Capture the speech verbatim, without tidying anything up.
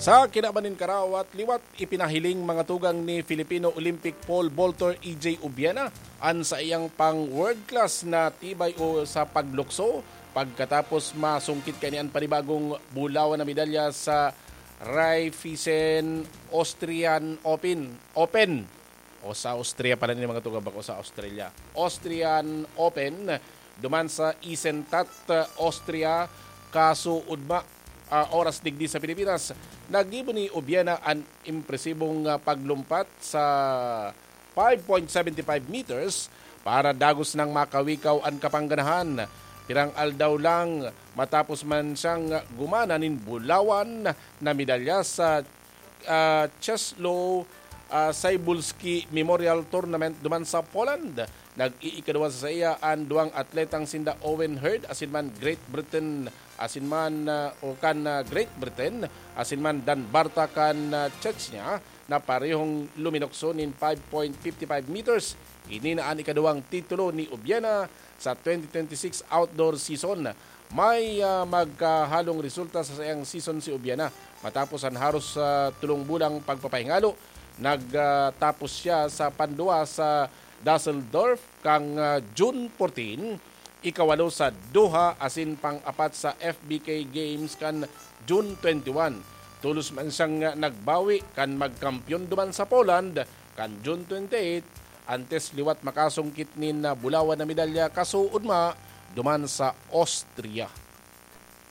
Sa kinaban nin karawat, liwat ipinahiling mga tugang ni Filipino Olympic pole vaulter E J Ubiana an saiyang pang world class na tibay o sa paglukso pagkatapos masungkit kaniya an panibagong bulawan na medalya sa Raiffeisen Austrian Open, Open o sa Austria pala ni mga tugang, bako sa Australia. Austrian Open, duman sa Eisenstadt, Austria, kaso ugma, ah, oras digdi sa Pilipinas, naggibo ni Ubiana an impresibong, ah, paglumpat sa five point seven five meters para dagos nang makawikaw an kapangganahan. Pirang aldaw lang matapos man siyang gumana nin bulawan na medalya sa, ah, Czesław, ah, Cybulski Memorial Tournament duman sa Poland. Nag-iikaduwa sa saiya an duwang atletang sinda Owen Hurd asin man Great Britain asin man, ah, o kan, ah, Great Britain asin man Dan Barta kan, ah, Chechnya na parehong luminukso nin five point fifty five meters. Ini na an ikaduwang titulo ni Ubiana sa twenty twenty-six outdoor season. May, ah, magkahalong resulta sa saiyang season si Ubiana. Matapos an haros, ah, tulong bulang pagpapahingalo, nagtapos siya sa panduwa sa Düsseldorf kan, ah, June fourteen, ikawalo sa Doha asin pang-apat sa F B K Games kan June twenty-one. Tolos man siyang, ah, nagbawi kan magkampeon duman sa Poland kan June twenty-eight, antes liwat makasungkit nin, ah, bulawan na medalya kaso ugma duman sa Austria.